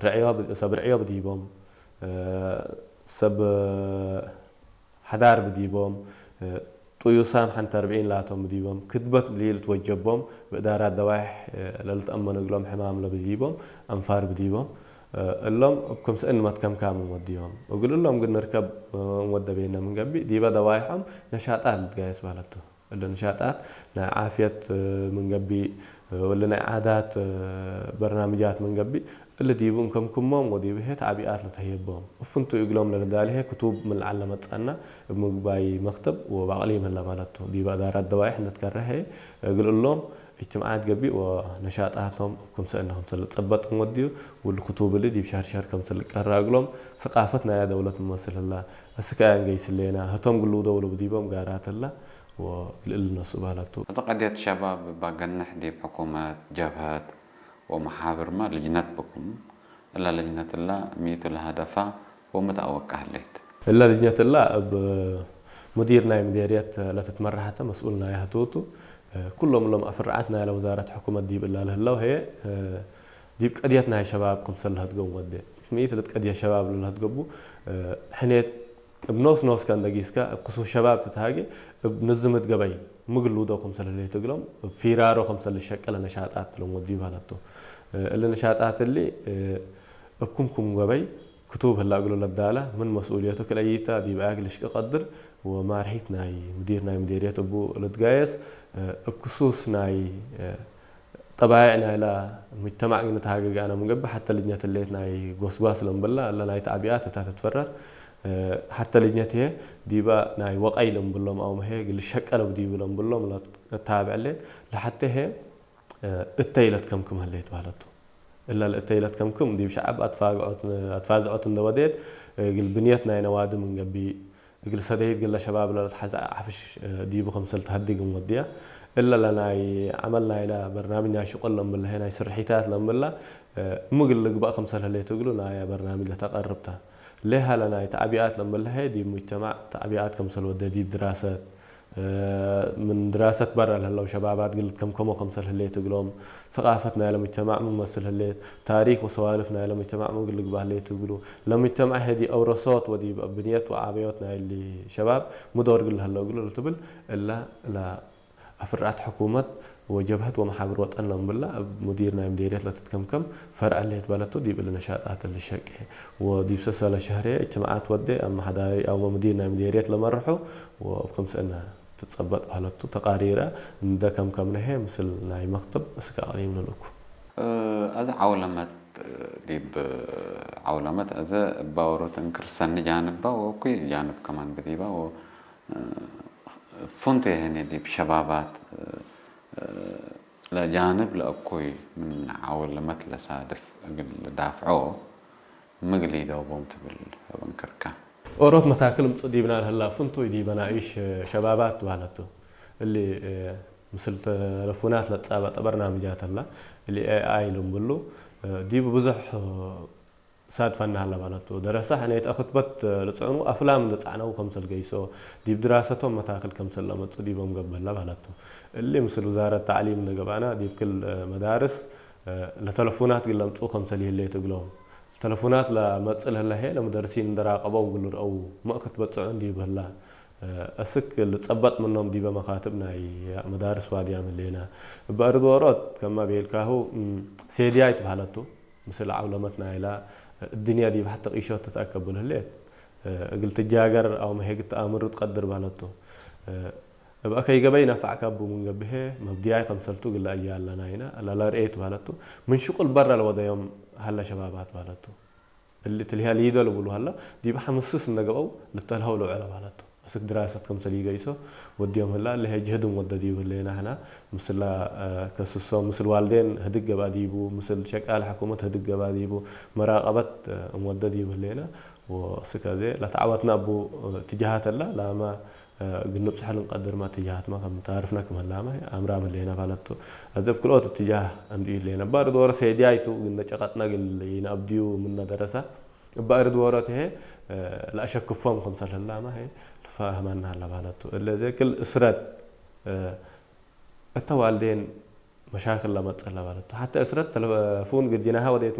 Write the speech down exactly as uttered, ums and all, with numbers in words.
ርዕዮ ብ-፣ ሰብ ርዕዮ ብዲቦም፣ ሰብ ሐዳር ብዲቦም፣ ጥዩሳም ሐንተ አርብዒን ላቶም ብዲቦም፣ ክትበት ሊልትወጀቦም፣ ብእዳራት ደዋይሕ ለልትአመኑ እግሎም ሕማም ለብዲቦም፣ አንፋር ብዲቦም፣ እሎም እብ ክምሰል እንመትከምካም እንወድዮም። እግል እሎም ግን ንርከብ እንወደ ቤነ ምን ገብእ፣ ዲበ ደዋይሖም ነሻጣት ልትጋየስ ባለቱ። እሊ ንሻጣት ናይ ዓፍየት ምን ገብእ፣ ወለ ናይ ዓዳት በርናምጃት ምን ገብእ፣ እሊ ዲቡ እንከምክሞም ወዲቡ ህዬ ተዕቢኣት ለተህየቦም። እፍንቱ እግሎም ለልዳሊ ህዬ ክቱብ ምን ለዐል ለመጽአና እብ ምግባይ መክተብ ወበአቅሊም ህለ ባለቱ። ዲበ እዳራት ደዋይሕ እንደ ትከረ ህዬ እግል እሎም እጅትማዓት ገብእ ወነሻጣቶም እብ ክምሰል እነ ክምሰል ልትጸበጥ እንወድዩ፣ ወእሊ ክቱብ እሊ ዲብ ሸህር ሸህር ክምሰል ልቀረ እግሎም ሰቃፈት ናያ ደውለት ምመስል ህላ። አስክ አያ እንገይስ ህሌና፣ ህቶም ግልውደው ልብዲቦም ጋራት ህላ ወእግል እሊ ነስኡ ባለቱ። እት ቀድየት ሸባብ እባ ገንሕ ዲብ ሕኩመት፣ ጀብሀት ወመሓብርመ ልጅነት ብኩም። እለ ልጅነት እለ ሚቱ ለሀደፋ ወምትአወቀ ህሌት። እለ ልጅነት እለ እብ ሙዲር ናይ ምዴርየት ለትትመረሐተ መስኡል ናየ ህቱቱ። ኩሎም እሎም አፍርዓት ናይለ ወዛረት ሕኩመት ዲብ እላ ለህለው ህዬ ዲብ ቀድየት ናይ ሸባብ ክምሰል ለሀድገው ወዴ። ሚት ልትቀድየ ሸባብ ለልሀድገቡ ሕኔት እብ ኖስ ኖስከ እንደ ጊስከ፣ እብ ክሱስ ሸባብ ትትሃጌ፣ እብ ንዝምት ገበይ ምግል ልውደው ክምሰል ህሌት እግሎም፣ እብ ፊራሮ ክምሰል ልሸቀለ ነሻጣት ለንወድዩ ባለቱ። እሊ ነሻጣት እሊ፣ እብ ክምኩም ገበይ ክቱብ ህላ እግሉ ለዳለ፣ ምን መስኡልየቱ ክልአይታ ዲብ አያክ ልሽቂ ቀድር፣ ወማርሒት ናይ ሙዲር ናይ ሙዲርየት እቡ ልትጋየስ፣ እብ ክሱስ ናይ ጠባይዕ ናይላ ሙጅተማዕ ግን ተሃገገ አነ ምን ገብእ፣ ሐተ ልጅነት ህሌት ናይ ጎስጓስ ለምብላ፣ እለ ናይ ተዕቢኣት እታ ትትፈረር። ሐተ ልጅነት ህዬ ዲበ ናይ ወቀይ ለምብሎም አውመ ህዬ እግል ሸቀለ ብዲቡ ለምብሎም ለታብዕ ህሌት። ለሐቴ ህዬ እተይ ለትከምክም ህሌት ባለቱ። እለ ለእተይ ለትከምክም ዲብ ሸዐብ አትፋግዖት፣ አትፋዝዖት እንደ ወዴት፣ እግል ብንየት ናይ ነዋዲ ምን ገብእ፣ እግል ሰደይት ግለ ሸባብ ለለትሐዜ ዐፍሽ ዲቡ ክምሰል ተሀድግ እንወድያ። እለ ለናይ ዐመል ናይለ በርናምጅ ናይ ሽቁል ለምብለሀ ናይ ስርሒታት ለምብላ፣ ምግል ልግበእ ክምሰል ህሌት እግሉ ናየ በርናምጅ ለተቀርብ ተ። ሌሃ ለናይ ተዕቢኣት ለምብለሀ ዲብ ሙጅተማዕ ተዕቢኣት ክምሰል ወደ ዲብ ድራሰት፣ ምን ድራሰት በረ ለህለው ሸባባት እግል ልትከምከሞ ክምሰል ህሌት እግሎም፣ ሰቃፈት ናይለ ሙጅተማዕ ምን መስል ህሌት፣ ታሪክ ወሰዋልፍ ናይለ ሙጅተማዕ ምን እግል ልግበእ ህሌት እግሉ፣ ለሙጅተማዕ ህዬ ዲብ አውረሶት ወዲብ ብንየት ወዓበዮት ናይሊ ሸባብ ሚ ዶር እግል ለህለው እግሉ ልትብል፣ እለ ለአፍርዓት ሕኩመት ወጀብሀት ወመሓብር ወጠን ለምብላ፣ እብ ሙዲር ናይ ምዴርየት ለትትከምከም ፈርዕ ህሌት በለቱ፣ ዲብ እሊ ነሻጣት እሊ ሸቄ ወዲብ ሰሰለ ሸህሬ እጅትማዓት ወዴ አመሐዳሪ አውመ ሙዲር ናይ ምዴርየት ለመርሑ ወእብ ክምሰል እነ ትጸበጥ በህለቱ ተቃሪረ እንደ ከምከምነ ህዬ ምስል ናይ መክተብ እስክ አቅሊም ልልእኩ። አዜ ዐውለመት ዲብ ዐውለመት አዜ እባ ዎሮት እንክር ሰኒ ጃንባ ወእኩይ ጃንብ ከማን ብዲባ ወ-፣ ፉንቴ ህኔ ዲብ ሸባባት ለጃንብ ለእኩይ ምን ዐውለመት ለሳድፍ እግል ልዳፍዖ ምግል ኢደውቦም ትብል እብ እንክርከ። ኦሮት መታክል ምጹእ ዲብና ለህላ ፍንቱይ ዲበ ናይሽ ሸባባት በህለቱ። እሊ ምስል ተለፉናት ለትጻበጠ በርናምጃት ህላ፣ እሊ ኤ አይ ልምብሉ፣ ዲቡ ብዙሕ ሳድፈና ህለ በህለቱ። ደረሰ ሕኔት አክትበት ልጽዕኑ አፍላም እንደ ጸዕነው ከምሰል ገይሶ፣ ዲብ ድራሰቶም መታክል ከምሰል ለመጹ ዲቦም ገብእ ህለ በህለቱ። እሊ ምስል ውዛረት ተዕሊም እንደ ገብአና፣ ዲብ ክል መዳርስ ለተለፉናት እግል ለምጽኡ ከምሰል ይህሌት እግሎም። ተለፉናት ለመጽእ ለህለ ህዬ ለሙደርሲን እንደ ራቀበው እግል ልርአው መእክት በጽዑን ዲብ ህላ። አስክ ልጸበጥ ምኖም ዲበ መካትብ ናይ መዳርስ ዋድያም ህሌና። እበ አርድ ዎሮት ከመ ቤልካሁ፣ ሴድያይ ትበህለቱ። ምስል ዐውለመት ናይላ እድንያ ዲብ ሐተ ቂሾት ትትአከብል ህሌት። እግል ትጃገር አውመ ህዬ እግል ተአምሩ ትቀድር በህለቱ። እብ አከይ ገበይ ነፈዕከ እቡ ምን ገብእ ህዬ መብድያይ ከምሰልቱ እግል ለአያለ ናይነ ለለርኤት በህለቱ። ምን ሽቁል በረ ለወደዮም ሀለ ሸባባት በህለቱ። እሊ ትልህያ ሊዶ ልብሉ ሀለ፣ ዲብ ሐምስስ እንደ ገብአው ልተልሀው ለውዐለ በህለቱ። አስክ ድራሰት ከምሰል ኢገይሶ ወድዮም ህላ፣ ለሀይ ጅህድ እንወደ ዲቡ ህሌነ ሕነ፣ ምስላ ከስሶ፣ ምስል ዋልዴን ህድግ ገብአ ዲቡ፣ ምስል ሸቃል ሕኩመት ህድግ ገብአ ዲቡ፣ መራቀበት እንወደ ዲቡ ህሌነ፣ ወአስክ አዜ ለተዐወትነ እቡ እትጃሃት ህላ፣ ላመ እግል ንብጽሖ ልንቀድርመ እትጃሃትመ ከም ታርፍነ ክም ህላመ አምራም ህሌነ በህለቱ። አዜ እብ ክልኦት እትጃህ እንዱ ኢህሌነ። እበ አርድ ዎሮት ሴድያይ ቱ፣ እግል እንደ ጨቀጥነ እግል ኢነአብድዩ ምነ ደረሰ፣ እበ አርድ ዎሮት ህዬ ለአሸክፎም ክምሰል ህላመ ህዬ ልፋህመነ ሀለ በህለቱ። እለ ዘክል እስረት እተ ዋልዴን መሻክል ለመጽእ ለበህለቱ። ሐተ እስረት ተለፉን ግርጅናሀ ወዴት